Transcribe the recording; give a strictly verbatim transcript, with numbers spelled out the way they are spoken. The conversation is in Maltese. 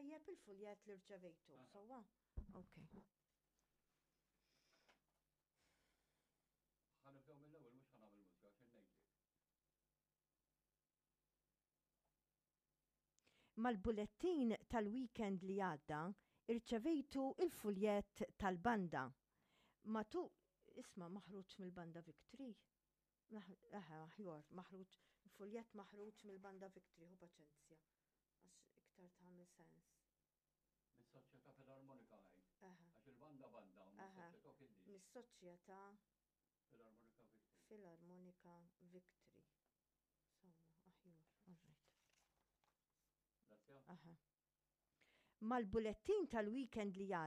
Tajjeb il-fuljett li rċevejtu, sewwa? Ok. Ħa nibdew mill-ewwel mhux ħa nagħmel mużika għax ngħidlek. Mal-bulettin tal-weekend li għadda, irċevejtu il-fuljett tal-banda. Matu, isma' maħruġ mill-banda Victory. Eħe, aħjar, maħruġ, fuljett maħruġ mill-banda Victory, hu paċenzja. Għax iktar tagħmel sens. Mis-Soċjetà Filarmonika għid. Għax il-banda banda, mis-soċjetà kien Mis-Soċjetà Filarmonika Victory. Filarmonika Victory. Sewwa, aħjar, all right. Aha. Mal-bulettin tal-weekend li għadda,